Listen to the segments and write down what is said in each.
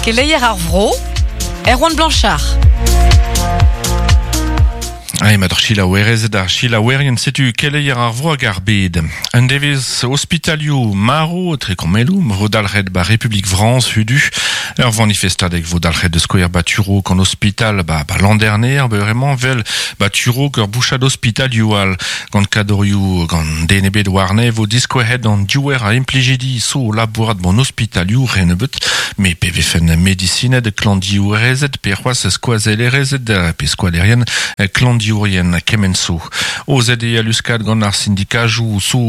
Keleier ar vro, Erwan Blanchard. Ai, mat ar chilaouerezed ar chilaouerien, setu keleier ar vro hag ar bed. Un devezh ospitalioù marv tre kommeloù, vo dalc'het ba Republik Frañs hudu. Ur vanifestadeg vo dalc'het de skouer ba Turo gant ospital ba, ba Landerneer, beuremañ vel ba Turo ur bouchad ospitalioù all. Gant kadorioù gant den ebet warne vo diskouezet an diouer a implijidi so labourat bon ospitalioù renebeut, me pe vefen medisined klandiourezed pe c'hoazh skoazellerezed pe skoalerien klandiourien kement so. Ozet eo luskad gant ar sindikajoù so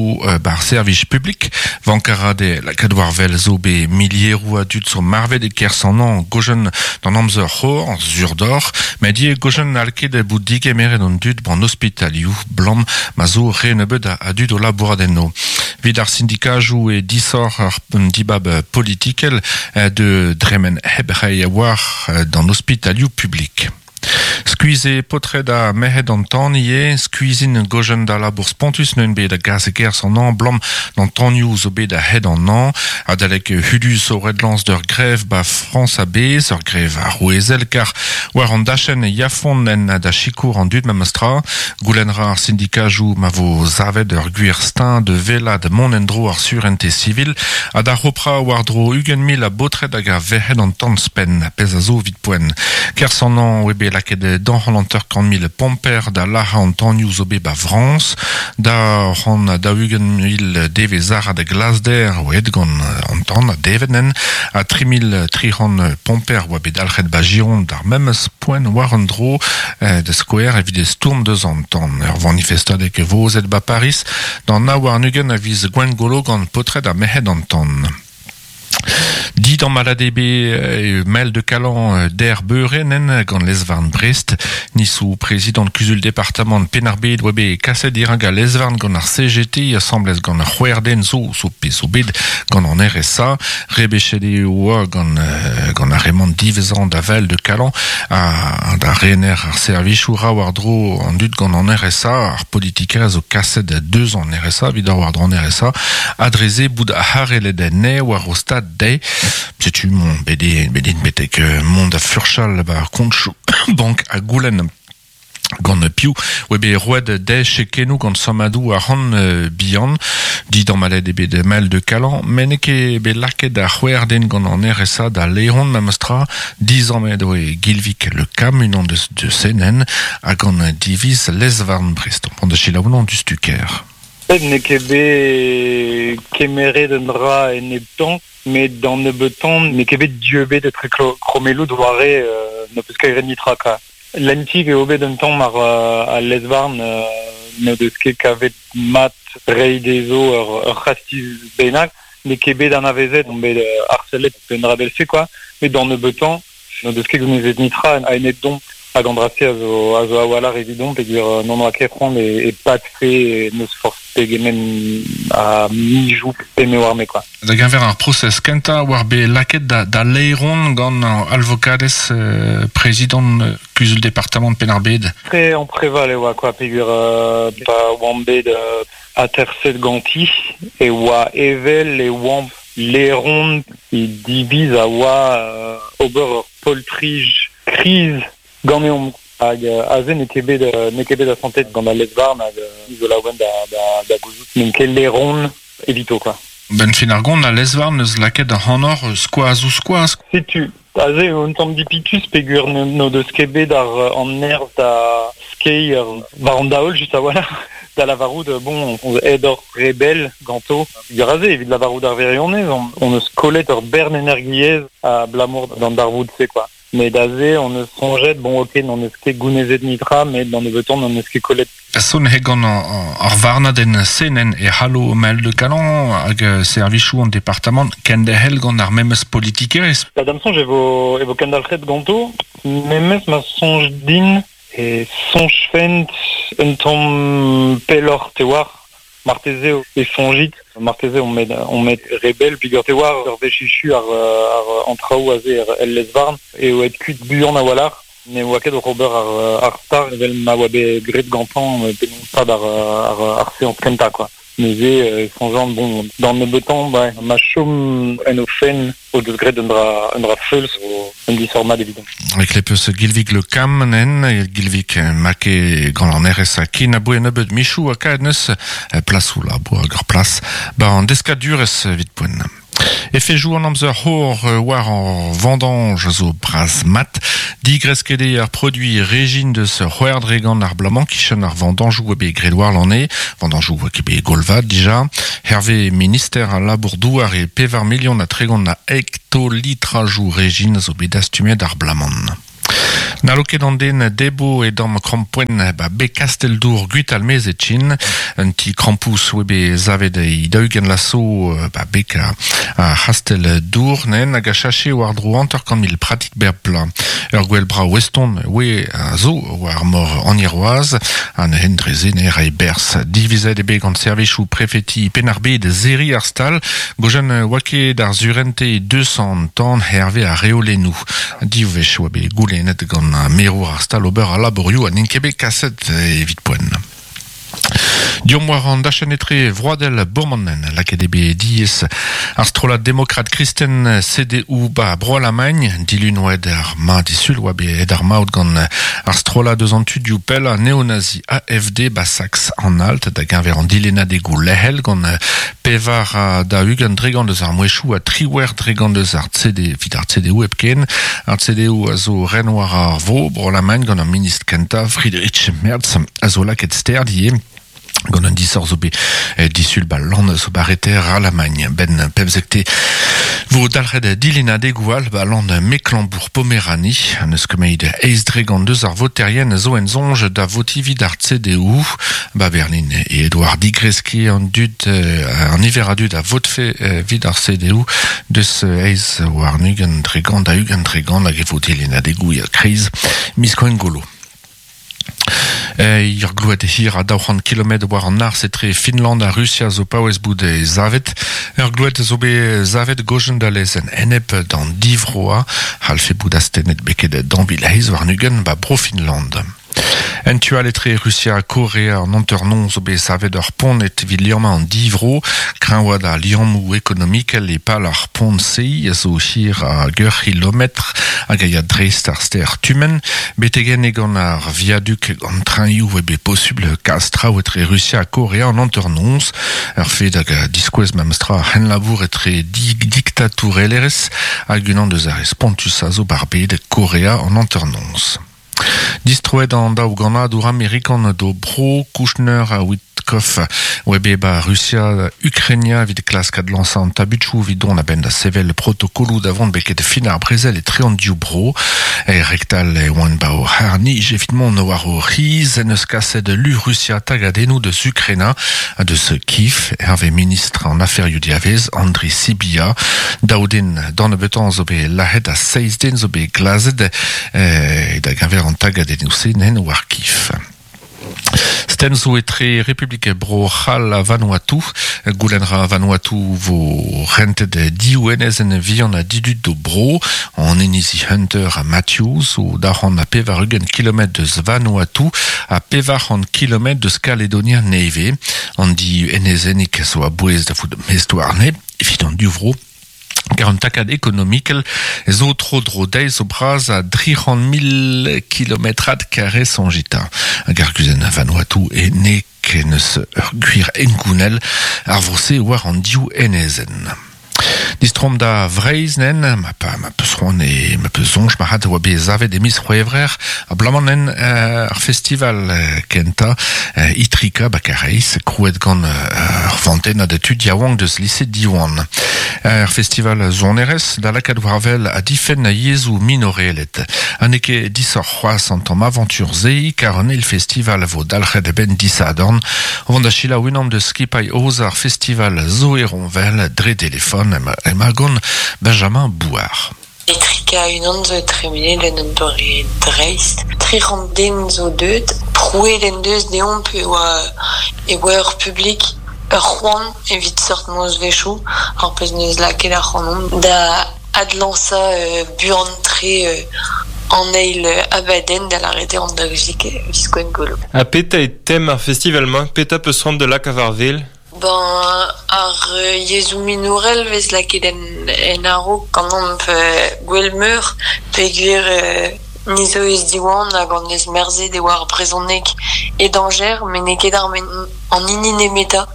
bar servij publik, vankarade lakaat war wel zo be milieroù a dud so marvet e kerzh an an gojen d'an amzer c'hor, sur d'or, met ivez gojen n'hall ket bout digemeret an dud ban ospitalioù blam ma zo re nebeut a dud o labourat enno. Evit ar sindikajoù e disoc'h ar dibab politikel de dremen hep reiñ war d'an ospitalioù publik. Skuizh eo paotred ha merc'hed an tan ivez, skuizhin gojenn da labour spontus neuint bet a gas e-kerzh an hañv 'blam d'an tanioù zo bet a-hed an hañv. Adalek hudu zo ret lañs d'ur grev 'ba Frañs a-bezh, ur grev arouezel kar war an dachenn e yafont en da sikour an dud memes tra. Goulenn 'ra ar sindikajoù ma vo savet ur gwir steuñv da wellaat mont en-dro ar surentez sivil ha da c'hoprañ war-dro 20 000 a baotred hag a verc'hed an tan-spenn, pezh a zo evit poent. Kerzh an hañv eo bet lakaet 250 000 pomper da lazhañ an tanioù zo bet 'ba Frañs. Da 140 000 devezh-arat a glasder oa aet gant an tan ha devet nen ha 3300 pomper oa bet dalc'het 'ba Gironde d'ar memes poent war un dro da skouer evit stourm deus an tan. Ur vanifestadeg e vo aozet 'ba Pariz d'an 29 a viz Gwengolo gant paotred ha merc'hed an tan. Dit an malade bet Mel de Calan der beure nen gant lez-varn Brest. Nisou prezidant kuzul departamant Penn-ar-Bed oa bet kaset dirak al lez-varn gant ar CGT asambles gant ar c'hwec'h den zo zo pe zo bet gant an RSA. Rebechet eo oa gant gant ar re-mañ diwezhañ da Val de Calan ha da rener ar servijoù ra war-dro an dud gant an RSA. Ar politikerezh zo kaset deus an RSA evit war-dro an RSA ha dre se bout harellet anezhe war o stad dezhe. Setu mont bet int betek mont da furchal war kontoù bank ha goulenn gant piv oa bet roet dezhe chekennoù gant sammadoù arc'hant bihan. Didammallet eo bet Mael de Calan, met n'eo ket bet lakaet ar c'hwec'h den gant an RSA da laeron memestra. Dizammet eo Gilvig Le Cam, unan deus senenn, ha gant diviz lez-varn Brest. Pont da selaou an dustuker. N'eo ket bet kemeret un dra eneptañ, met d'an nebeutañ n'eo ket bet dieubet etre krommelloù doare n'ho peus ket graet netra kwa. Lentik eo bet un tamm ar al lez-varn n'o deus ket kavet mat reiñ dezho ur c'hastiz bennak. N'eo ket bet anavezet, omp bet harcelet pe un dra evel-se kwa, met d'an nebeutañ N'o deus ket gounezet netra a-enep domp hag an dra-se a zo, a zo a-walc'h evidomp peogwir n'hon oa ket c'hoant e, e padfe n'eus forzh pegement a mizoù pe me oar me quoi. Da geñver ar prosez kentañ war bet lakaet da, da laeron gant alvokadez euh, prezidant kuzul departamant Penn-ar-Bed. Tre ampreval e oa quoi peogwir euh, pa oamp bet euh, aterset ganti e oa evel e oamp Laeron he diviz a oa ober ur poltrij kriz ganeomp hag aze n'eo ket bet n'eo ket bet asantet gant al lez-varn hag ni zo laouen da da gouzout n'eo ket laeron evito kwa. Benn fin ar gont al lez-varn 'neus lakaet ac'hanoc'h skoaz ouzh skoaz. Setu aze eo un tamm dipitus peogwir n'o deus ket bet ar an nerzh da skeiñ war an daol just a-walc'h da lavarout bon on aet oc'h re bell ganto. Peogwir aze evit lavarout ar wirionez on eus kollet ur bern energiezh abalamour d'an darvoud-se quoi. Met aze on eus soñjet bon ok n'on eus ket gounezet netra met d'an nebeutañ n'on eus ket kollet. Son eo gant ar varnadenn senenn e c'hallo Mael de Calan hag servijoù an departamant kenderc'hel gant ar memes politikerezh. Da da'm soñj e vo e vo kendalc'het ganto, memes ma soñj din e soñjfent un tamm pelloc'h te oar. Marteze e soñjit, marteze on met on met re bell peogwir te oar ur wech echu ar ar an traoù aze el lez-varn eo aet kuit buan a-walc'h. Ne oa ket oc'h ober ar ar star evel ma oa bet graet gantañ penaos stad ar ar ar seañs kentañ quoi. Neuze e soñjan bon d'an nebeutañ ba ma chom en o fenn o deus graet un dra un dra feuls zo un disoc'h mat evidon. Eklepeus Gilvig Le Cam nen, Gilvig make gant an RSA ken aboe nebeut michoù ha kaet neus plasoù labour hag ur plas ba an deskadurezh evit poent. Efejoù an amzer c'hor war ar vendanj a zo bras mat. Digresket eo ar produiñ rejin deus c'hwec'h dregont ar bloaz-mañ kichen ar vendanjoù eo bet graet warlene. Vendanjoù oa ket bet golvat dija. Hervez minister al labour-douar eo pevar milion ha 30 a hektolitrajoù rejin a zo bet dastumet ar bloaz-mañ. N'hallo ket an den debo e damm krampouezhenn ba beg Kastell-Dour Gwitalmez e Chin. Un ti krampouz oa bet savet e daou-ugent laso ba beg ar C'hastell-Dour nen hag a chache war-dro 50 mil pratik bep bloaz. Ur gwel brav eston oe a zo war mor an Hirwazh ha neuze dre-se ne rae berzh. Divizet eo bet gant servijoù prefeti Penn-ar-Bed serriñ ar stal. Gojen oa ket ar surente 200 tan hervez ar reolennoù. Div wech oa bet goulennet gant merour ar stal ober al labourioù ha n'int ket bet kaset evit poent. Deomp war an dachenn etre vroadel Bourmanen, lakaet eo bet diaes ar strollad demokrat kristen CDU ba Bro-Alamagn, dilun oa aet ar ma disul oa bet aet ar maout gant ar strollad eus an tudioù pellañ neonazi AFD ba Saks-Anhalt da geñver an dilennadegoù lec'hel gant pevar ha daou-ugent dregont eus ar mouezhioù ha triwec'h dregont eus ar CD evit ar CDU hepken. Ar CDU a zo ren war ar vro Bro-Alamagn gant ar ministr kentañ Friedrich Merz a zo lakaet sterd ivez gant un disoc'h zo bet disul ba land zo ba reter Alamagn. Ben pemzekte vo dalc'het dilennadegoù all ba land Mecklembourg-Pomerani. An eus ket eizh dregont deus ar voterien zo en soñj da votiñ evit ar CDU. Ba Berlin e Edouard digreskiñ an dud an niver a dud a votfe evit ar CDU deus eizh warn-ugent dregont da ugent dregont hag e vo dilennadegoù kreiz miz Gwengolo. Ur gloued hir a 200 kilometr war an arzh etre Finland ha Rusia zo paouez bout savet. Ur gloued zo bet savet gojen da lezenn enep d'an divroañ c'hallfe bout astennet beket daou vil eizh warn-ugent ba Bro-Finland. En tu all etre Rusia ha Korea an hanternoz zo bet savet ur pont evit liammañ an divro. Kreñvaat ar liammoù ekonomikel e pal ar pont-se a zo hir hag ur c'hilometr hag a ya dreist ar stêr Tumen. Betek enne gant ar viaduk gant trainioù eo bet posubl kas traoù etre Rusia ha Korea an hanternoz. Ur fed hag a diskouez memestra ar c'henlabour etre diktatourelezh hag unan deus ar re spontusañ zo bar bed Korea an hanternoz. Distroet an daou gannadour amerikan d'o bro Kouchner ha Witkoff oa bet ba Rusia Ukrainia evit klask adlañsañ an tabutoù evit dont a-benn da sevel protokoloù da vont beket fin ar brezel etre an div bro. E rektal e oant ba o c'harr-nij evit mont war o c'hiz en eus kaset lu Rusia tagadennoù deus Ukraina ha deus Kiev hervez ministr an aferioù diavez Andriy Sybiha. Daou den d'an nebeutañ zo bet lazhet ha seizh den zo bet glazet da geñver an tagadennoù-se nen war Kiev. Stenn zo etre Republik Bro-C'hall ha Vanuatu. Goulenn ra Vanuatu vo rentet div enezenn vihan ha didud d'o bro. An inizi Hunter ha Matthews zo 280 kilometr deus Vanuatu ha 400 kilometr deus Kaledonia Nevez. An div enezennig zo a-bouez da vout mestr warne evit an div vro. Kar un takad ekonomikel zo tro-dro dezhe zo bras a 300 000 kilometrad kare soñjita. Hag ar guzenn Vanuatu e ne ken eus ur gwir hengounel ar vro-se war an div enezenn. Distroomp da Vreizh nen, ma pa ma peus c'hoant e ma peus soñj marc'had oa bet savet e miz C'hwevrer abalamour nen ar festival kentañ Itrika ba Karaez krouet gant ur vantennad tud yaouank deus lise Diwan. Ar festival sonerezh da lakaat war wel ha difenn yezhoù minorelet. Ha n'eo ket disoc'h c'hoazh an tamm avantur-se kar an eil festival a vo dalc'het a-benn disadorn. O vont da selaou unan deus skipailh aozañ ar festival Zoé Ronvel dre delefon emañ gant Benjamin Bouard. Etrika unan zo tremenet en un doare dreist. 300 den zo deuet. Prouet en deus deomp e oa e oa ur publik ur c'hoant evit seurt nozvezhioù, ar pezh 'neus lakaet ac'hanomp da adlañsañ buan-tre an eil abadenn da lâret eo an daouzek viz Gwengolo. Ha petra eo tem ar festival-mañ? Petra 'peus c'hoant da lakaat war wel? Ben, ar yezhoù minorel vez lakaet en, en a-raok ganeomp Gouel Meur peogwir ni zo eus Diwan hag an eus merzet e oa ar brezhoneg e dañjer met n'eo ket ar an hini nemetañ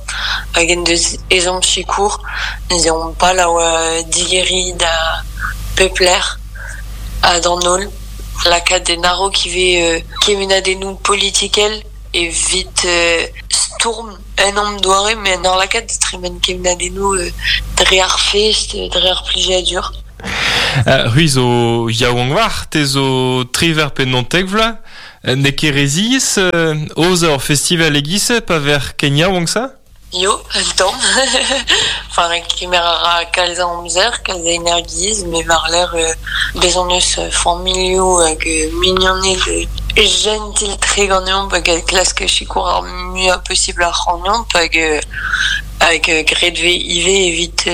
hag en deus ezhomm sikour. Neuze omp pal a oa digeriñ da pep lec'h ha d'an holl. Lakaat en a-raok ivez kemennadennoù politikel evit stourm un tamm doare met en ur lakaat da tremen kemennadennoù dre ar fest, dre ar plijadur. C'hwi zo yaouank war, te zo triwec'h pe naontek vloaz. N'eo ket re ziaes aozañ ur festival e-giz-se pa vec'h ken yaouank-se? Yo, un tamm. Enfin, kemer a ra kalz a amzer, kalz a energiezh, met war-lerc'h bez' hon eus familhoù hag mignoned jentil-tre ganeomp hag a klask sikour ar muiañ posibl ac'hanomp hag hag graet 'vez ivez evit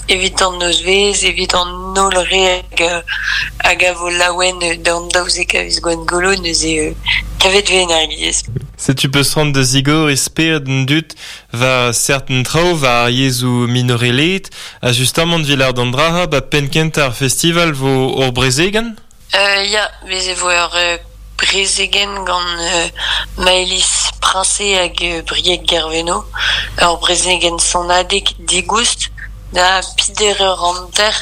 evit an nozvezh, evit an holl re hag hag a vo laouen d'an 12 a viz Gwengolo neuze kavet 'vez energiezh. Setu peus c'hoant da zigor e spered an dud war serten traoù war ar yezhoù minorelaet ha justamant evit lâret an dra-se ba penn-kentañ ar festival vo ur brezegenn? Ya, bez' e vo ur brezegenn gant Maëlys Princé hag Brieg Guerveno, ur brezegenn sonadeg digoust da peder eur hanter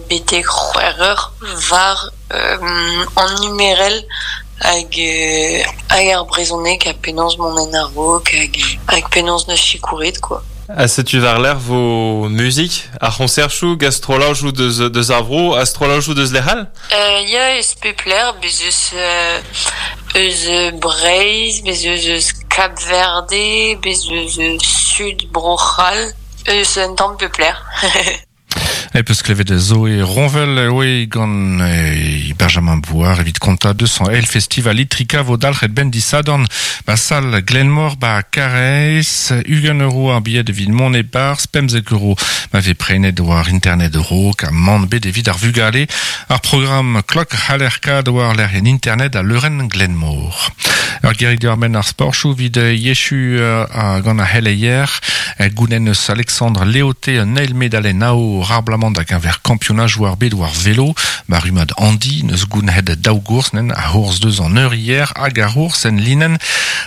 betek c'hwec'h eur war an numerel hag hag ar brezhoneg ha penaos mont en a-raok hag hag penaos 'neus sikouret quoi. Ha setu war-lerc'h vo muzik, ar c'hoñserchoù gant strollajoù deus, deus ar vro ha strollajoù deus lec'h all? Ya, eus pep lec'h, bez eus eus Breizh, bez eus eus Kab-Verde, bez eus Sud Bro-C'hall, eus un tamm pep lec'h. E peus klevet Zoé Ronvel oe gant Benjamin Bouard evit kontañ deus an eil festival Itrika vo dalc'het benn disadorn ba sal Glenmor ba Karaez. 20 euro ar bilhed evit mont e-barzh, 15 euro ma vez prenet war internet raok ha mann bet evit ar vugale. Ar programm klok c'haller kad war lec'hienn internet al leurenn Glenmor. Ur gerig diwar-benn ar sporchoù evit Yechu gant ar c'heleier. Goulenn eus Alexandre Léoté un eil medalenn aour abalamour da geñver kampionajoù ar bed war velo. Ba rummad Andy n'eus gounhet daou gours nen ar c'hours deus an eurier hag ar c'hours en linenn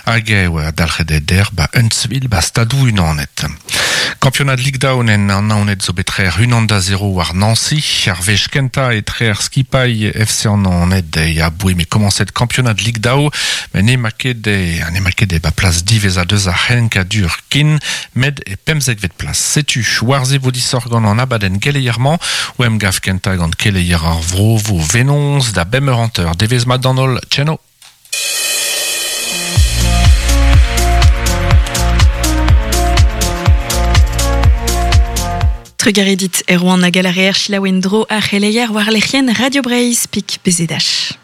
hag e oa dalc'het der ba Huntsville ba Stadoù-Unanet. Kampionad Ligue Down en an Naoned zo bet trec'h 1-0 war Nancy. Ar wech kentañ e trec'h skipailh FC an Naoned e aboe m'eo komañset kampionad Ligue Daou met n'emañ ket n'emañ ket ba plas diwezhañ deus ar c'henkadur ken met e pemzekvet plas. Setu war-se vo disoc'h gant an abadenn geleier-mañ o emgav kentañ gant keleier ar vro vo Venoz da bemp eur hanter. Devezh mat d'an holl. Tcheno! Trugarez dit Erwan hag a reer selaou en-dro ar c'heleier war lec'hienn Radio Breizh pik BZH.